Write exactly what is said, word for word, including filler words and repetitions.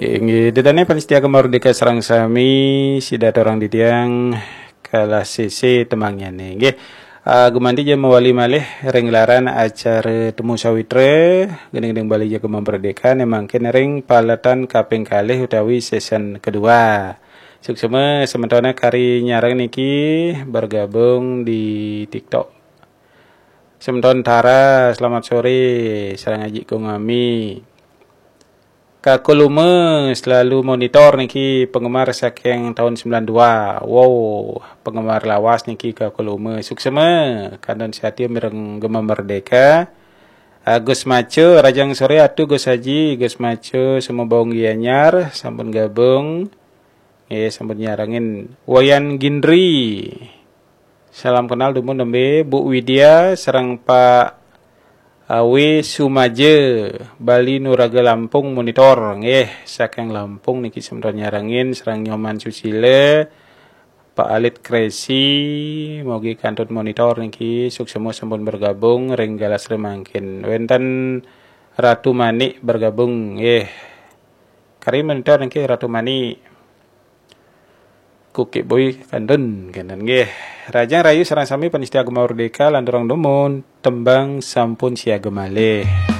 Inggih, ida dané pamiarsa Gema Merdeka sareng sami, sida aturang titiang kalah sisi temanggiané. Inggih, ah, gumanti ja mawali malih ring gelaran acara Temu Sawitra, gending-gending Bali ja Gema Merdeka, né mangkin ring paletan kaping kalih utawi season kedua. Suksma sementoné kari nyarengin niki bergabung di TikTok. Semeton Tara, selamat sore, sareng Aji Kongami. Kakul Uma selalu monitor niki, penggemar saking tahun sembilan dua. Wow, penggemar lawas niki Kakul Uma. Suksma, kantun satia mireng Gema Merdeka. Agus Maco, rahajeng sore Atu Gus Aji, Gus Maco, Sumbawa Gianyar, sampun gabung. Nggih, sampun nyarengin. Wayan Gindri. Salam kenal dumun nembé Bu Widya sareng Pak Awi Sumaja, Bali Nuraga Lampung monitor. Nggih, saking Lampung niki semeton nyarengin, sareng Nyoman Susila, Pak Alit Kresi, mugi kantun monitor niki, suksma sampun bergabung ring galah sore mangkin. Wénten Ratu Manik bergabung, nggih. Kari monitor niki Ratu Manik. Kuki Boy kantun, kenten nggih. Rahajeng rahayu sareng sami pamiarsa Gema Merdeka, lanturang dumun, tembang sampun siaga malih.